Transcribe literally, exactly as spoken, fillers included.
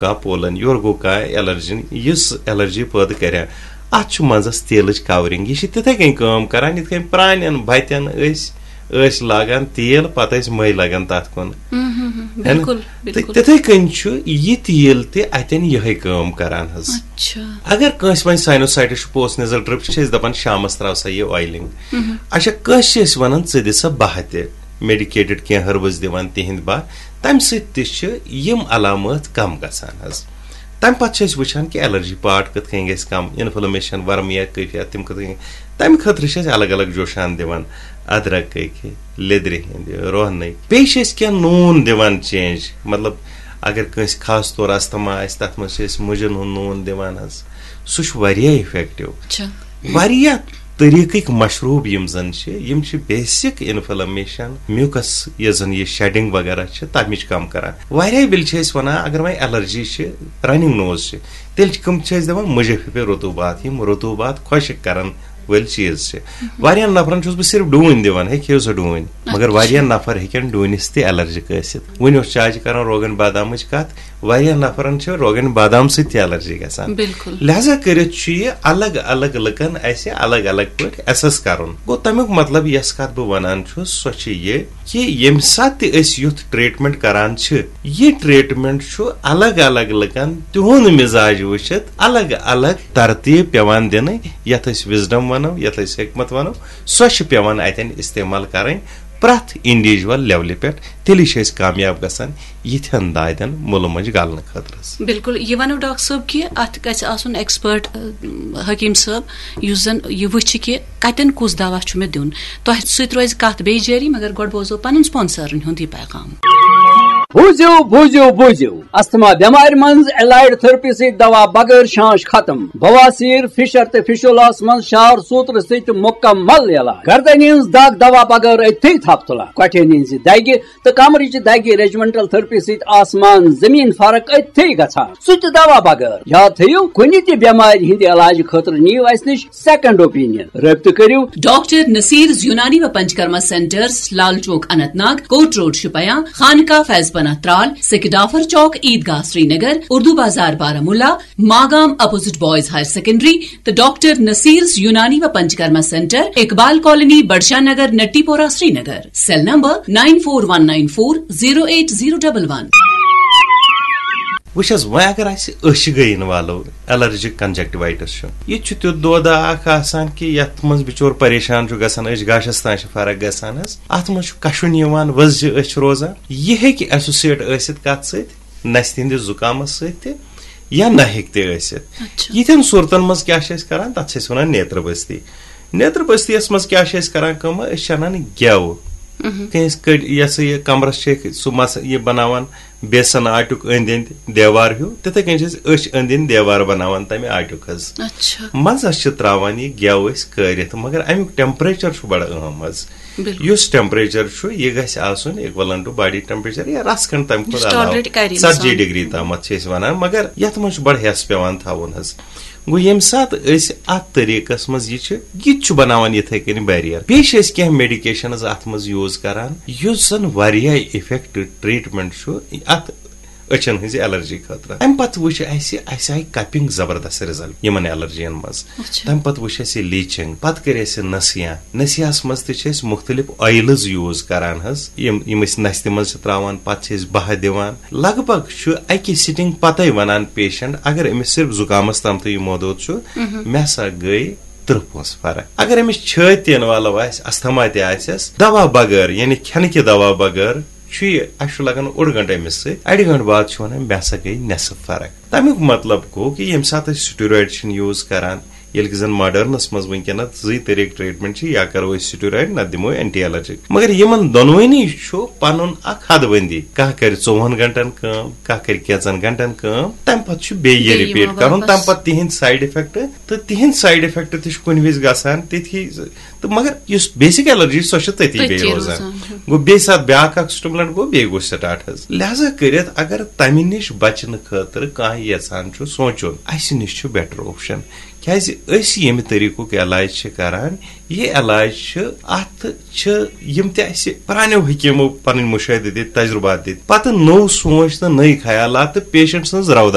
کانٛہہ پولن، یورٕ گوٚو کانٛہہ ایلرجن، یُس ایلرجی پٲدٕ کرِ ہا۔ اتھ چھُ منٛزس تیلٕچ کورنگ، یہِ چھِ تِتھے کٔنۍ کٲم کران، یِتھ کٔنۍ پرانٮ۪ن بتٮ۪ن أسۍ ٲسۍ لاگان تیل، پتہٕ ٲسۍ مٔہۍ لگان تتھ کُن۔ ہے نا؟ بِلکُل، تہٕ بِلکُل۔ تِتھے کٔنۍ چھُ یہِ تیل تہِ اتٮ۪ن یِہے کٲم کران حظ۔ اچھا۔ اگر کٲنٛسہِ وۄنۍ سائنوسائٹس چھُ، پوسٹ نیزل ڈرپ چھِ، چھِ أسۍ دپان شامس تراو سا یہِ آیلنگ۔ اچھا، کٲنٛسہِ چھِ أسۍ ونان ژٕ دِ سا بہہ تہِ، میڈیکیٹڈ کینٛہہ ہربس دِوان تِہنٛدۍ بہہ، تمہِ سۭتۍ تہِ چھِ یِم علامات کم گژھان حظ۔ تمہِ پتہٕ چھِ أسۍ وٕچھان کہِ ایلرجی پارٹ کِتھ کٔنۍ گژھِ کم، انفلمیشن، ورم یا کیفیت، تِم کِتھ کٔنۍ۔ تمہِ خٲطرٕ چھِ أسۍ الگ الگ جوشان دِوان، ادرک کہِ، لیدرِ ہٕنٛدِ، رۄہنٕکۍ۔ بیٚیہِ چھِ أسۍ کینٛہہ نوٗن دِوان چینج، مطلب اگر کٲنٛسہِ خاص طور استھما آسہِ، تتھ منٛز چھِ أسۍ مُجن ہُنٛد نوٗن دِوان حظ، سُہ چھُ واریاہ افیکٹو۔ اچھا۔ واریاہ طریٖقٕکۍ مشروب یِم زن چھِ، یِم چھِ بیسک انفلمیشن، میوکس، یۄس زن یہِ شیڈنگ وغیرہ چھِ، تمِچ کم کران۔ واریاہ وِلہِ چھِ أسۍ ونان، اگر وۄنۍ ایلرجی چھِ، رننگ نوز چھِ، تیٚلہِ چھِ کم چھِ أسۍ دِوان مُجہِ پھِپھِ رطوبات، یِم رطوبات خۄشک کرن وٲلۍ چیٖز چھِ۔ واریاہن نفرن چھُس بہٕ صرف ڈوٗنۍ دِوان، ہے کھیٚیِو سا ڈوٗنۍ، مگر اچھا۔ واریاہ نفر ہیٚکن ڈوٗنِس تہِ ایلرجی ٲسِتھ۔ وُنہِ اوس چاچہِ کران روگن بادامٕچ کتھ، واریاہن نفرن چھِ روگن بادام سۭتۍ تہِ ایلرجی گژھان۔ بِلکُل۔ لہذا کٔرِتھ چھُ یہِ الگ الگ لُکن اسہِ الگ الگ پٲٹھۍ ایسس کرُن۔ گوٚو، تمیُک مطلب، یۄس کتھ بہٕ ونان چھُس، سۄ چھِ یہِ کہِ ییٚمہِ ساتہٕ تہِ أسۍ یُتھ ٹریٹمنٹ کران چھِ، یہِ ٹریٹمنٹ چھُ الگ الگ لُکن تِہُنٛد مزاج وٕچھِتھ الگ الگ ترتیب پٮ۪وان دِنہٕ، یتھ أسۍ وزڈم ونو، یتھ أسۍ حکمت ونو، سۄ چھِ پٮ۪وان اتٮ۪ن استعمال کرٕنۍ۔ پرٛٮ۪تھ انڈیویجول لیولہِ پٮ۪ٹھ، تیٚلی چھِ أسۍ کامیاب گژھان یِتھٮ۪ن دادٮ۪ن مُلہٕ مۄنجہِ گلنہٕ خٲطرٕ حظ۔ بِلکُل، یہِ وَنو ڈاکٹر صٲب کہِ اَتھ گژھِ آسُن ایکسپٲرٹ، ٲ، حکیٖم صٲب، یُس زَن یہِ وٕچھِ کہِ کَتٮ۪ن کُس دوا چھُ مےٚ دیُن۔ تۄہہِ سۭتۍ روزِ کَتھ بیٚیہِ جٲری، مگر گۄڈٕ بوزو پَنُن سپانسرن ہُنٛد یہِ پیغام۔ بوٗزِو، بوٗزِو، بوٗزِو۔ استھما بٮ۪مارِ منٛز ایلایڈ تھرپی سۭتۍ دوا بغٲر شانش ختم۔ بواسیر، فشر تہٕ فشولاہس منٛز شار سوترٕ سۭتۍ مُکمل علاج۔ گردنہِ ہٕنٛز دگ دوا بغٲر أتھی تھپھ تُلان۔ کۄٹھٮ۪ن ہٕنٛزِ دگہِ تہٕ کمرٕچہِ دگہِ ریجمنٹل تھرپی سۭتۍ آسمان زمین فرق أتھی گژھان۔ سُہ تہِ دوا بغٲر۔ یاد تھٲیِو، کُنہِ تہِ بٮ۪مارِ ہٕنٛدِ علاجہٕ خٲطرٕ نِیِو اسہِ نِش سیکنڈ اوپینین۔ رٲبطہٕ کٔرِو۔ ڈاکٹر نصیرز یونانی و Panchakarma centres, Lal Chowk Anant Nag, Kot road Shopian, Khanqah Faiz Panah Tral, Sekidafar Chowk, Eidgah Srinagar, Urdu Bazaar Baramulla, Magam opposite boys higher secondary, تہٕ ڈاکٹر نصیرز یونانی و Panchakarma centre, Iqbal colony, Budshah Nagar, Natipora, Srinagar. Cell number nine four one nine four zero eight zero double one. وٕچھ حظ، وۄنۍ اگر اسہِ أچھ گٔے انوالو، الرجک کنجکٹیوائٹس چھُ، یہِ تہِ چھُ تیُتھ دودہ اکھ آسان کہِ یتھ منٛز بِچور پریشان چھُ گژھان، أچھ گاشس تام چھِ فرق گژھان حظ۔ اتھ منٛز چھُ کشُن یِوان، وۄزجہِ أچھ روزان۔ یہِ ہیٚکہِ ایسوسیٹ ٲسِتھ کتھ سۭتۍ؟ نستہِ ہٕنٛدِس زُکامس سۭتۍ تہِ یا نہِکۍ تہِ ٲسِتھ۔ اچھا۔ یِتھٮ۪ن صوٗرتن منٛز کیٛاہ چھِ أسۍ کران؟ تتھ چھِ أسۍ ونان نیترٕ بستی۔ نیترٕ بستی یس منٛز کیٛاہ چھِ أسۍ کران کٲم؟ أسۍ چھِ انان گٮ۪و۔ کٲنٛسہِ کٔڑۍ، یہِ ہسا یہِ کمرس چھِ أسۍ سُہ مس یہِ بناوان بیسن آٹیُک أنٛدۍ أنٛدۍ دیوار ہیوٗ، تِتھے کٔنۍ چھِ أسۍ أچھ أنٛدۍ أنٛدۍ دیوار بناوان تمہِ آٹیُک حظ۔ اچھا۔ منٛزس چھِ تراوان یہِ گٮ۪و أسۍ کٲرِتھ، مگر امیُک ٹیمپریچر چھُ بڑٕ اہم حظ۔ بِلکُل۔ یُس ٹیمپریچر چھُ، یہِ گژھِ آسُن equivalent to body temperature یا رژھ کھنڈ تمہِ یُس کھۄتہٕ علاوٕ۔ Tolerate کرِ ژتجی انسان۔ Degree تامتھ چھِ أسۍ ونان، مگر یتھ منٛز چھُ بڑٕ ہٮ۪س پٮ۪وان تھاوُن حظ۔ گوٚو، ییٚمہِ ساتہٕ أسۍ اتھ طریٖقس منٛز یہِ چھِ، یہِ تہِ چھُ بناوان یِتھے کٔنۍ barrier۔ بیٚیہِ چھِ أسۍ کینٛہہ میڈیکیشنز اتھ منٛز یوٗز کران، یُس زن واریاہ افیکٹ ٹریٹمنٹ چھُ اتھ أچھن ہٕنٛزِ الرجی خٲطرٕ۔ امہِ پتہٕ وٕچھ اسہِ، اسہِ آیہِ کپنگ زبردست رِزلٹ یِمن الرجین منٛز۔ اچھا۔ تمہِ پتہٕ وٕچھ اسہِ لیچنگ، پتہٕ کٔرۍ اسہِ نسیاں۔ نسیاہس منٛز تہِ چھِ أسۍ مختلف oils use کران حظ، یِم، یِم أسۍ نستہِ منٛز چھِ تراوان، پتہٕ چھِ أسۍ بہہ دِوان۔ لگ بگ چھُ اکہِ سٹنگ پتے ونان پیشنٹ، اگر أمِس صرف زُکامس تامتھٕے یہِ محدوٗد چھُ، مےٚ ہسا گٔے ترٕٛہ پونٛسہٕ فرق۔ اگر أمِس چھٲتۍ تہِ انوالو آسہِ، استھما تہِ آسٮ۪س، دوا بغٲر، یعنی کھٮ۪نہٕ کہِ دوا بغٲر، چھُ یہِ، اَسہِ چھُ لگان اوٚڑ گنٹہٕ أمِس سۭتۍ، اَڑِ گنٹہٕ بعد چھُ وَنان، مےٚ ہسا گٔے نٮ۪صٕف فرق۔ تَمیُک مطلب گوٚو کہِ ییٚمہِ ساتہٕ أسۍ steroid چھِنہٕ use کران، ییٚلہِ کہِ زن modernس منٛز وٕنکیٚنس زٕے طریٖقہٕ treatment چھِ، یا کرو أسۍ steroid، نتہٕ دِمو anti allergic۔ مگر یِمن دۄنوٕنی چھُ پنُن اکھ حد بندی، کانٛہہ کرِ ژوٚوُہن گنٹن کٲم، کانٛہہ کرِ کینٛژن گنٹن کٲم، تمہِ پتہٕ چھُ بیٚیہِ یہِ بیٚیہِ یِوان repeat کرُن، تمہِ واپس۔ پتہٕ تِہنٛدۍ side effect، تہٕ تِہنٛدۍ side effect تہِ چھِ کُنہِ وِزِ گژھان تِتھی، تہٕ مگر یُس basic allergy چھِ، سۄ چھِ تٔتی تٔتی بیٚیہِ روزان۔ روزان، ہُم۔ گوٚو بیٚیہِ ساتہٕ بیٛاکھ اکھ stimulant گوٚو، بیٚیہِ گوٚو start حظ۔ لہذا کٔرِتھ اگر تَمہِ نِش بچنہٕ خٲطرٕ کانٛہہ یژھان چھُ سونٛچُن، اَسہِ نِش چھُ better option۔ کیٛازِ أسۍ ییٚمہِ طریٖقُک علاج چھِ کران، یہِ علاج چھُ، اَتھ چھِ یِم تہِ اَسہِ پرٛانیو حکیٖمو پَنٕنۍ مُشٲہدٕ دِتۍ، تجرُبات دِتۍ، پَتہٕ نوٚو سونٛچ تہٕ نٔے خیالات تہٕ پیشنٹ سٕنٛز رَو